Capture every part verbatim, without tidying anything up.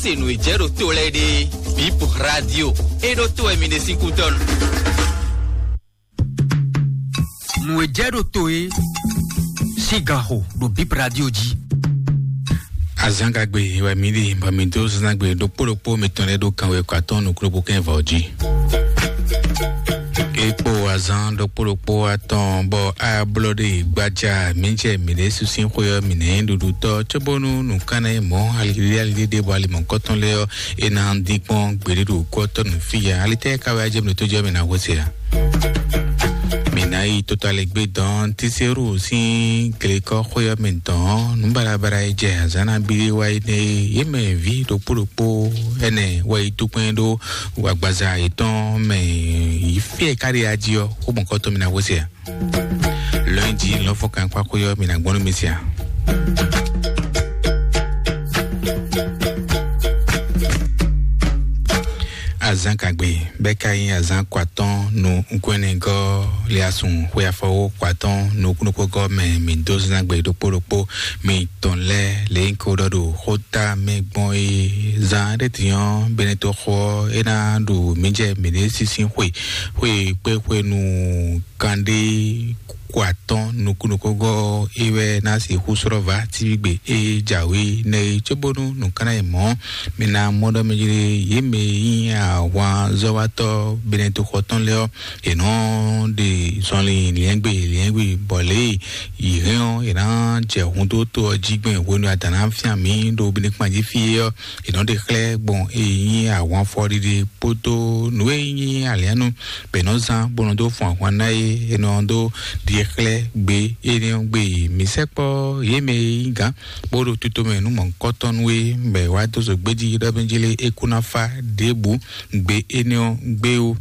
Se nǔ e jɛ ɖo to lɛ́ɛ ɖe, Bip Radio, e ɖo to wɛ mi ɖe sín kútɔ́nu. Nǔ e jɛ ɖo to e sín ganxo ɖo Bip Radio jí. Azangagbe wɛ mi ɖi bɔ mi dó zangbe ɖokpó ɖokpó mitɔn lɛ́ɛ ɖo kanwe kɔ atɔn nukúnɖokpó kɛn vɔ jí. Ekpo azan ɖokpó ɖokpó atɔn bɔ ablɔ ɖe gbaja mi jɛ mi ɖe susin xwe ɔ mi nɛ ɖuɖutɔ cóbónú nukánná mɔ alilí alilí ɖe bɔ alimɔ kɔtɔn lɛ ɔ e na dín kpɔn gbeɖuɖu kɔtɔn nú fíya alitɛ ka wɛ ajɛ mi tó jɛ mi na hwese a. Mi na yi tota le gbé dɔn tísérù sín glekɔ xwe ɔ mi dɔn nú balabala yi jɛ azan na bi wa yi ne yé mɛ vi ɖokpó ɖokpó ɛnɛ wɛ yi tó kpɛn ɖó agbaza yětɔn mɛ yi fíɛ káɖi ají ɔ xó mɔkɔtɔn mi na hwese a. Lundi lɔfɔ kan kpakpo yɔ mi na gbɔn mi sia. Azan kagbe bɛ ka yin azan kwatɔn nu nkwɛnɛgɔ liasun xwe afɔwo kwatɔn nu kunukpogɔ mɛ mi do zangbe ɖokpó ɖokpó mi tɔn lɛ lɛ ko ɖɔ ɖo xota mɛ gbɔn e zan ɖe tiɲɔ bene to xɔ e na ɖu mi jɛ mi ɖe sisi xwe xwe kpe xwe nu kanɖé kó atɔ́n nukúnnukúngɔ́ é wɛ ná sixú slɔ́ vǎ tívígbe é jǎwe nɛ́ é cóbónú nǔkánná e mɔ̌ mi ná mɔ ɖɔ mɛ jlé yě mɛ e nyí ahwanzɔ́watɔ́ Benɛtoxɔ tɔn lɛ́ɛ ɔ́, è nɔ ɖe zɔnlin liɛ́ngbe liɛ́ngbe bɔ lě e yě hɛn ɔ́, è nǎ jɛ hun dó to ɔ́ jí gbɛn hwenu e a dǎn ná fyán mǐ ɖo Benɛkpan jí fí é ɔ́, è nɔ ɖe xlɛ́ gbɔn e nyí ahwanfɔɖiɖi kpódó nǔ e nyí aliánu bɔ è nɔ zán bó nɔ dó fun ahwan ná é, è nɔ dó ɖi xlɛ́ gbe énɛ́ ɔ́ gbe. Mǐ sɛkpɔ́ yě mɛ e nyí gǎn bó ɖo tutomɛ nú mɔ̌hunkɔtɔn nú é, bɔ è wá dó zo gbéjí ɖɔ mɛ jí lé é kú ná fá ɖěbǔ gbe énɛ́ ɔ́ gbé ó.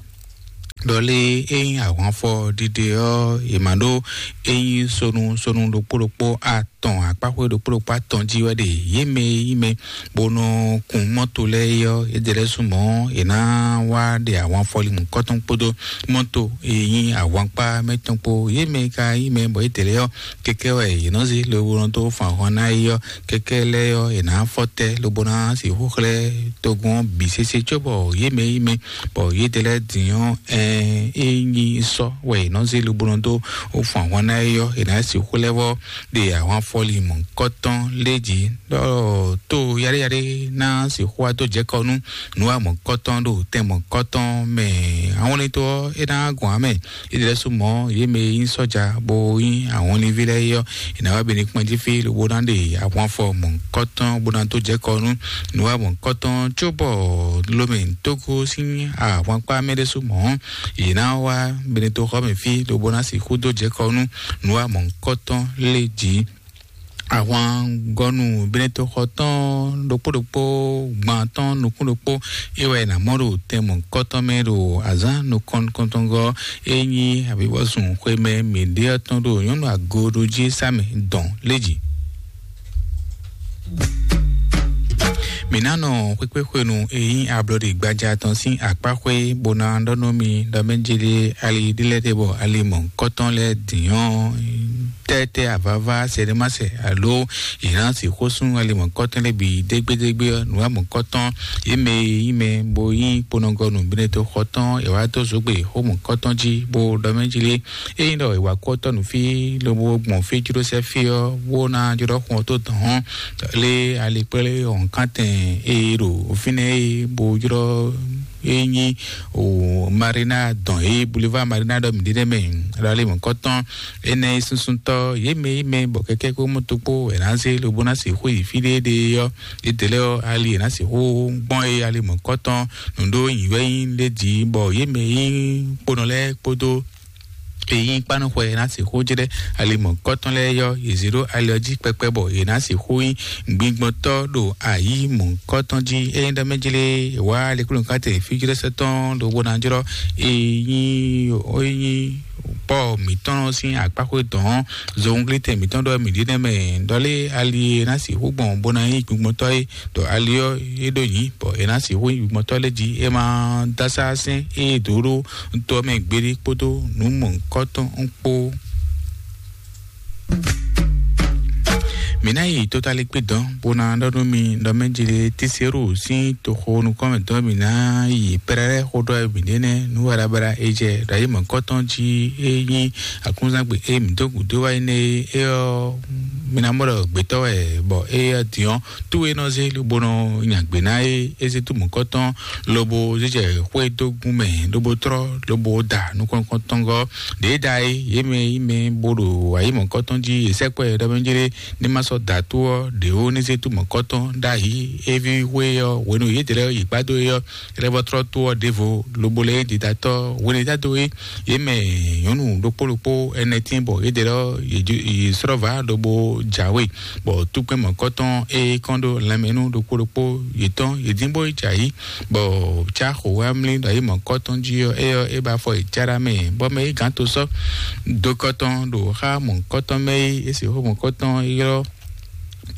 Ɖɔ lé é nyí ahwanfɔ ɖiɖe ɔ́, è ma ɖó é nyí sonu sonu ɖokpó ɖokpó atɔn akpáxwé ɖokpó ɖokpó atɔn jí wɛ ɖe yě mɛ e nyí mɛ bó nɔ kun mɔ́to lɛ́ɛ é ɔ́, é ɖe lɛ́ɛ sú mɔ̌ è nǎ wá ɖe ahwanfɔlímù kɔ́tɔn kpódó mɔ́to e nyí ahwankpá mɛ tɔn kpó. Yě mɛ e ka nyí mɛ bɔ é ɖe lɛ́ɛ ɔ́, kɛkɛ wɛ yě nɔ zé lobo nɔ dó fun ahwan ná é ɔ́, kɛkɛ lɛ́ɛ ɔ́, è nǎ fɔ tɛ́ lobo ná sixú xlɛ́ togun ɔ́ bǐ sésé cóbɔ yě mɛ e nyí mɛ bɔ yědɛɛ lɛ́ɛ din ɔ́, ɛɛn, é nyí sɔ́ wɛ è nɔ zé lobo nɔ dó fun ahwan ná é ɔ́, è nǎ sixú lɛ́ vɔ́ ɖe ahwan fɔli mɔ̌hunkɔtɔn lé jí, ɖɔ tó yaɖéyaɖé ná sixú wá dó jɛ̌ kɔ nú nǔ wa mɔ̌hunkɔtɔn ɖo tɛn mɔ̌hunkɔtɔn mɛ. Ahwanlɛ́ntɔ́ ɔ́, é ná gɔn amɛ. Yědɛɛ lɛ́ɛ sú mɔ̌, yě mɛ e nyí sɔ́ja bó nyí ahwanlínví lɛ́ɛ é ɔ́, è nǎ wá bɛ́ ní kpɔ́n jí fí lobo ná ɖe ahwanfɔ mɔ̌hunkɔtɔn bó ná dó jɛ̌ kɔ nú nǔ wa mɔ̌hunkɔtɔn cóbɔ Lomɛ Tógó sín ahwankpá mɛ ɖésú mɔ̌, yě ná wá Benetoxɔ mɛ fí lobo ná sixú dó jɛ̌ kɔ nú nǔ wa mɔ̌hunkɔtɔn lé jí. Ahwangɔnu Benetoxɔ tɔn ɖokpó ɖokpó gban tɔn nukún ɖokpó é wɛ è nǎ mɔ ɖo tɛn mɔ̌hunkɔtɔn mɛ ɖo azǎn nukɔntɔngɔ́ é nyí avivɔsun xwemɛ mǐɖé ɔ́ tɔn ɖo nyɔ̌nu agoɖují sá mɛ dɔn lé jí. Mǐ ná nɔ xwékpéxwenu e nyí ablɔɖi gbaja tɔn sín akpá xwé bó ná ɖɔ nú mi ɖɔ mɛ jélé ali ɖé lɛ́ɛ ɖe bɔ ali mɔ̌hunkɔtɔn lɛ́ɛ dǐn ɔ́, tɛ́tɛ́ avava sɛɖémasɛ alo yě ná sixú sú ali mɔ̌hunkɔtɔn lɛ́ɛ bǐ dégbédégbé ɔ́, nǔ wa mɔ̌hunkɔtɔn yě mɛ e nyí mɛ bó nyí kponɔgɔnu Benetoxɔ tɔn è wá dó zǒgbe xó mɔ̌hunkɔtɔn jí bó ɖɔ mɛ jélé. Ényí ɖɔ è wǎ kú ɔ́ tɔ́ nǔ fí lobo gbɔn fí jló sɛ́ fí ɔ́, bó ná jlɔ́ xun ɔ́ tó dɔ̌n ɔ́, lé ali kplé wɔ̌nkántɛn e ɖo fínɛ́ e bó jlɔ́ e nyí o Marina dɔn e Boulevard Marina ɖɔ mǐ ɖe nɛ́ mɛ, ɖɔ ali mɔ̌kɔtɔn énɛ́ e súnsúntɔ́ yě mɛ e mɛ bɔ kɛkɛ́ kpó mɔto kpó è nǎ zé lobo ná sixú yi fí ɖé ɖe ɔ́, yědɛɛ lɛ́ɛ ɔ́, ali è nǎ sixú gbɔn e ali mɔ̌kɔtɔn nǔɖó nyǐwɛ nyí ɖé jí bɔ yě mɛ e nyí kponɔ lɛ́ɛ kpódó e nyí kpánúxwɛ ná sixú jlɛ́ ali mɔ̌kɔtɔn lɛ́ɛ yɔ yě zé ɖó ali ɔ́ jí kpɛkpɛ bɔ yě ná sixú nyí gbingbɔntɔ́ ɖo ayǐ mɔ̌kɔtɔn jí. Ényí ɖɔ mɛ jlé wá lɛ́kúlɔ́nkátɛ fíjlɛ́sɛ́tɔ́ ɖokpó ná jlɔ́ e nyí e nyí Pɔ́ɔ mǐtɔn sín akpáxwé dɔn zɔnglítɛn mǐtɔn ɖɔ mǐ ɖi nɛ́ mɛ ɖɔlé ali e ná sixú gbɔn bó ná nyí gbingbɔntɔ́ é ɖɔ ali ɔ́ é ɖó nyǐ bɔ è nǎ sixú nyí gbɔntɔ́ lɛ́ɛ jí é ma dó asá sɛ́n é dǒ ɖó tɔ mɛ gbeɖé kpódó nǔ mɔ̌hunkɔtɔn kpó. Mǐ ná yi totalikpé dɔn bó ná ɖɔ nú mi ɖɔ mɛ jeli Tiseru sín toxo nukɔn mɛ dɔn mǐ ná yi pɛrɛrɛ xó ɖɔ mǐ ɖe nɛ́ nú warabara e jɛ ɖo ayi mɔ̌kɔtɔn jí e nyí akúnzangbe e mǐ dó gǔdo wá yi nɛ́ é ɔ́, mǐ ná mɔ ɖɔ gbětɔ́ wɛ bɔ é ɔ́ din ɔ́, tú e nɔ zé lobo nɔ nya gbě ná é é zé tú mɔ̌kɔtɔn lobo zé jɛ xwé dó gún mɛ lobo trɔ́ lobo da nukɔn nukɔntɔn gɔ́ ɖě da é yě mɛ yí mɛ bó ɖo ayi mɔ̌kɔtɔn jí yě sɛkpɔ́ ɛ ɖɔ mɛ jeli ní ma sɔ́ da tó ɔ́ ɖě ó ní zé tú mɔ̌kɔtɔn ɖ'ayǐ éví xwé ɔ́ hwenu yědɛɛ lɛ́ɛ yi gbá dó é ɔ́, é lɛ́ vɔ́ trɔ́ tó ɔ́ ɖěvo lobo lɛ́ɛ didatɔ́ hwenu e dado é yě mɛ nyɔ̌nu ɖokpó ɖokpó ɛnɛ tín bɔ yědɛɛ lɛ́ɛ yě srɔ́ vǎ lobo jǎwe bɔ túkpɛ́n mɔ̌kɔtɔn é kɔn ɖó lanmɛ nú ɖokpó ɖokpó yětɔn yě dín bó yi jǎ yí bɔ cá xo wá mlí ɖo ayi mɔ̌kɔtɔn jí ɔ́, é ɔ́ é ba fɔ yi cá ɖa mɛ bɔ mɛ yí gǎn to sɔ́ dó kɔtɔn ɖo xá mɔ̌kɔtɔn mɛ yí é sixú mɔ̌kɔtɔn ylɔ́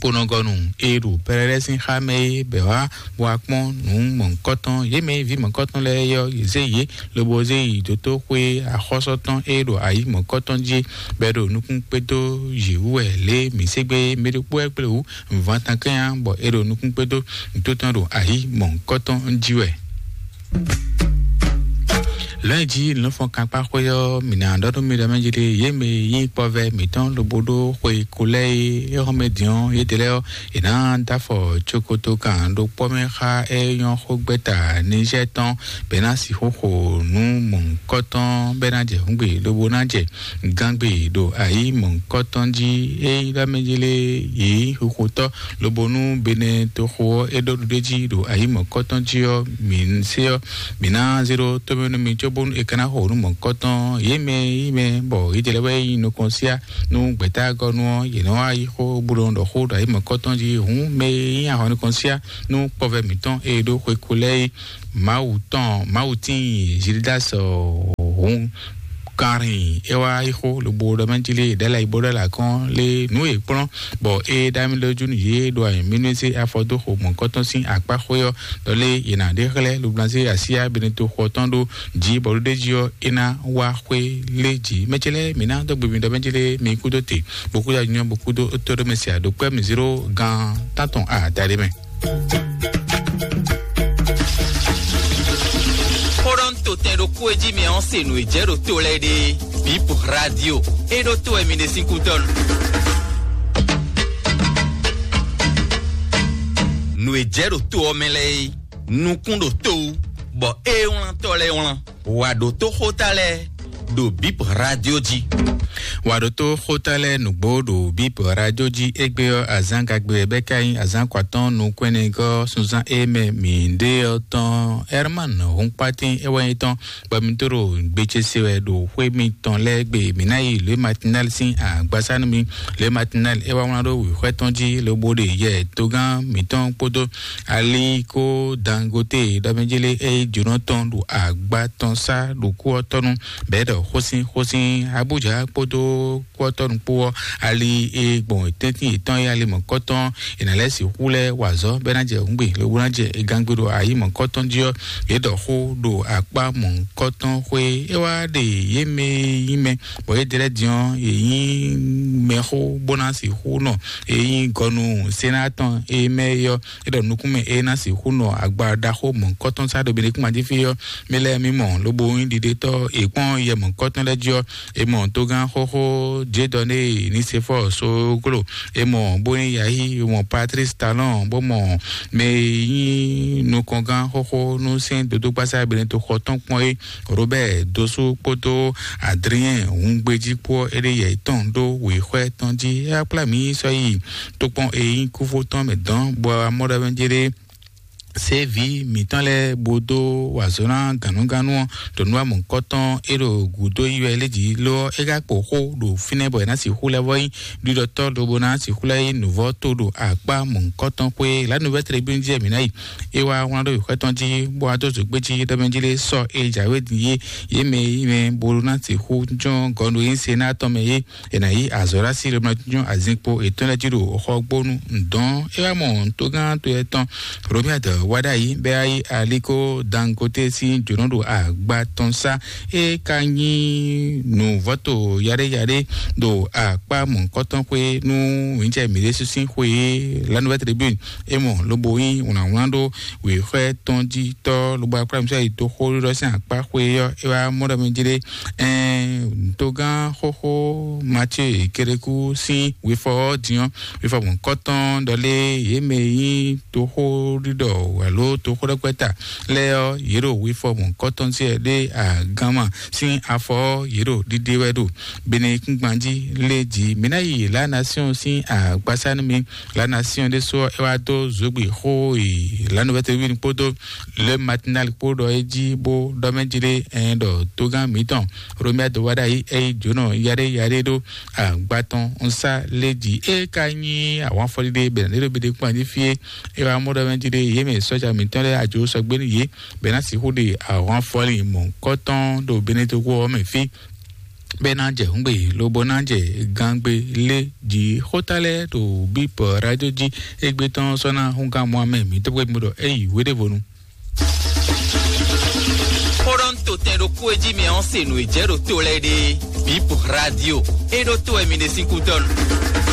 kponɔgɔnu e ɖo pɛrɛlɛ sín xá mɛ é bɛ wá bɔ akpɔ́n nǔ mɔ̌kɔtɔn yě mɛ ví mɔ̌kɔtɔn lɛ́ɛ yɔ zé yě lobo zé yi dótó xwé axɔ́sɔtɔn e ɖo ayi mɔ̌kɔtɔn jí bɛ ɖo nukún kpédó yě wú wɛ lě mǐ ségbé mɛ ɖokpó wɛ kplé wú vǎntankɛnya bɔ é ɖo nukún kpédó nǔtótɔn ɖo ayi mɔ̌kɔtɔn jí wɛ. Lɔ̌nyijǐ lɔ̌nfɔn kankpáxwé ɔ́, mǐ ná ɖɔ nú mi ɖɔ mɛ jí ɖe yě mɛ nyí kpɔvɛ mǐtɔn lobo ɖó xwe ko lɛ́ɛ é xɔ́mɛ din ɔ́, yědɛɛ lɛ́ɛ ɔ́, è nǎ dó afɔ cokoto kan ɖo kpɔ́ mɛ xá é nyɔ́ xó gbɛ́ta Nizɛ́ɛ tɔn bɔ é ná sixú xo nǔ mɔ̌hunkɔtɔn bɔ é ná jɛ hǔngbe lobo ná jɛ gangbe ɖo ayi mɔ̌hunkɔtɔn jí. É nyí ɖɔ mɛ jí lé yě nyí xuxotɔ́ lobo nú Benɛ toxo ɔ́ é ɖó ɖuɖéjí ɖo ayi mɔ̌hunkɔtɔn jí ɔ́, mǐ se ɔ́, mǐ ná zé ɖó tómɛ nú mi cóbónú è ka ná xo nǔ mɔ̌hunkɔtɔn. Yě mɛ yí mɛ bɔ yě jɛ lɛ́ wɛ nyí nukɔn síá nú gbɛ̌tágɔ́nú ɔ́, yě nɔ wá yi xó bó nɔ ɖɔ xó ɖo ayi mɔ̌hunkɔtɔn jí. Hǔn mɛ e nyí ahɔn nukɔn síá nú kpɔvɛ mǐtɔn e ɖó xwe ko lɛ́ɛ é, Mawu tɔn Mawu tíin Zildas hǔn kanrin é wá yi xó lobo ɖɔ mɛ jí lé ɖɛ́ lɛ yi bó ɖɛ́ lɛ akɔ́n lé nǔ e kplɔ́n bɔ é ɖo ami lójú nú yě ɖo ayǐ mínú é zé afɔ dó xo mɔ̌kɔtɔn sín akpá xwé ɔ́, ɖɔ lé yě ná ɖe xlɛ́ lublanzé asíá beneto xɔ tɔn ɖó jí bɔ ɖó ɖé jí ɔ́ é ná wá xwé lé jí. Mɛ ce lɛ́ɛ mǐ ná dó gbe mi ɖɔ mɛ jí lé mi kúdó te bó kúdó anyɔ bó kúdó tó ɖó mɛ se aɖokpɛ́ mi zéro gan tántɔn adaɖé mɛ. Xó ɖɔ ń to tɛn ɖokpó e jí mi ɔ́ se nǔ e jɛ ɖo to lɛ́ɛ ɖe. Bip Radio e ɖo to wɛ mi ɖe sín kútɔ́ nu. Nǔ e jɛ ɖo to ɔ́ mɛ lɛ́ɛ é, nukún ɖo to wú, bɔ é wlántɔ́ lɛ́ɛ wlán. Wà ɖo tó xóta lɛ́ɛ ɖo Bip Radio jí. Wà ɖo tó xóta lɛ́ɛ nǔgbó ɖo Bip Radio jí. Égbé ɔ́, azán gagbe wɛ bɛ́ ka nyí azán kɔ atɔ́ɔ́n nukún ɛnɛgɔ́ sunzán e mɛ mǐ ɖe ɔ́ tɔn. Herman Hunkpatín é wɛ nyí tɔn, bɔ mi tó ɖo gbe ce se wɛ ɖo xwé mitɔn lɛ́ɛ gbe. Mǐ ná yi Louis Matinal sín agbasá nú mi. Louis Matinal é wá wlán ɖó wěxwɛ́ tɔn jí lobo ɖe yɛ togán mǐtɔn kpódó Ali kó Dangote ɖɔmɛjélé é yi jǒnɔ tɔn ɖo agba tɔn sá ɖo kú ɔ́ tɔnu bɛ̌ ɖɔ xósin xósin Abuja kpódó kú ɔ́ tɔnu kpó ɔ́, ali e gbɔn tɛ́ntin yětɔn é ali mɔ̌kɔtɔn è nǎ lɛ́ sixú lɛ́ wa azɔ̌ bɔ é ná jɛ hǔngbe lobo ná jɛ gangbe ɖo ayi mɔ̌kɔtɔn jí ɔ́, yě ɖɔ xó ɖo akpá mɔ̌kɔtɔn xwé é wá ɖe yě mɛ nyí mɛ bɔ yě dlɛ́ din ɔ́ yě nyí mɛxó bó ná sixú nɔ yě nyí gɔnu sénátɔn é mɛ é ɔ́. É ɖɔ nukúnmɛ é ná sixú nɔ agba ɖaxó mɔ̌kɔtɔn sá ɖo Benekúnmajífí ɔ́, mɛ lɛ́ɛ mí mɔ lobo nyí ɖiɖetɔ́ è kpɔ́n yɛ mɔ̌kɔtɔn lɛ́ɛ jí ɔ́, è mɔ togán xóxó Jedɔnée Nisefɔ́ɔ Soglo, è mɔ Bóníyayi, è mɔ Patlísi Talɔ́n, bó mɔ mɛ e nyí nukɔngán xóxó nú sɛ́n dodókpásá Benetoxɔ tɔn kpɔ́n é, Robɛ́ɛ Dosú kpódó Adriɛn Hungbejí kpó ɔ́, é ɖe yɛ yětɔn ɖó wěxwɛ́ tɔn jí. É wá kplá mǐ sɔ́ yi tokpɔn e nyí kúfó tɔn mɛ dɔn, bɔ amɔ́ɖɔmɛjéɖé sévi mǐtɔn lɛ́ɛ bó dó wa azɔ̌ ná gǎnnúgannú ɔ́, ɖo nú amɔ̌kɔtɔn é ɖo gǔdo yi wɛ lé jí ló ɔ́, é ka kpo xó ɖo fínɛ́ bɔ è nǎ sixú lɛ́ vɔ́ nyí ɖiɖɔtɔ́ lobo ná sixú lɛ́ nyí nǔvɔ́ to ɖo akpá mɔ̌kɔtɔn xwé lǎnúvɛ́ tribúnu jí wɛ mǐ ná yi. É wá wlán ɖó wěxwɛ́ tɔn jí bó wá dó zǒgbé jí ɖɔmɛ jí lé sɔ́ é jǎwe din yé yě mɛ yí mɛ bó ná sixú jɔ́n gɔnu yí se ná tɔn mɛ yé. È nǎ yí azɔ̌ ɖo así lobo ná jínjɔ́n azinkpo yětɔn lɛ́ɛ jí ɖo xɔgbónu ŋdɔn. É wá mɔ togán to yɛtɔn Romiadɔ Wáɖayi bɛ ayi aliko Dangote sín jǒnɔ ɖo agba tɔn sá. E ka nyí nǔvɔ́to yaɖéyaɖé ɖo akpá mɔ̌kɔtɔn xwé nú wǐnjɛ mǐɖésú sín xwé. La Nouvelle Tribune e mɔ lobo nyí wlǎnwlán ɖó wěxwɛ́ tɔn jí tɔ́ lobo akpá mǐsɔ yi dó xó ɖiɖɔ sín akpá xwé ɔ́, é wá mɔ ɖɔ mɛ jí ɖé. Ɛn togán xóxó Mathieu Kérékou sín wefɔ ɔ́ din ɔ́, wefɔ mɔ̌kɔtɔn ɖɔ lé yě mɛ nyí toxó ɖiɖɔ alo toxó ɖɔkpɛta lɛ́ɛ ɔ́, yě ɖo wefɔ mɔ̌kɔtɔn ce ɖé agánma sín afɔ ɔ́, yě ɖo ɖiɖe wɛ ɖo Benekúngban jí lé jí. Mǐ ná yi La Nation sín agbasá nú mi. La Nation ɖésú ɔ́, é wá dó zǒgbǐ xó e La Nouvelle Tribune kpódó Le Matinal kpó ɖɔ é jí bó ɖɔ mɛ jí ɖé ɛn ɖɔ togán mǐtɔn Romuald Wadagni é yí jǒnɔ yaɖé yaɖé ɖó agba tɔn nsá lé jí. É ka nyí ahwanfɔlí ɖé bɛ̌ ɖé ɖo biɖe kpɔ́n jí fí é. É wá mɔ ɖɔ mɛ jí ɖé yě mɛ sɔ́ja mǐtɔn lɛ́ɛ ajo sɔgbé nú yě bɛ́ ná sixú ɖe ahwanfɔlí mɔ̌kɔtɔn ɖo Benetogo ɔ́ mɛ fí. Bɛ́ ná jɛ hǔngbe lobo ná jɛ gangbe lé jí xóta lɛ́ɛ ɖo bípɔ radio jí. Égbé tɔn sɔ́ ná húngán mɔ amɛ mǐtɔn gbé mɔ ɖɔ é yi wéɖévonu. Xó ɖɔ ń to tɛn ɖokpó e jí mi ɔ́ se nǔ e jɛ ɖo to lɛ́ɛ ɖe. Bip radio. E ɖo to wɛ mi ɖe sín kútɔ́nu.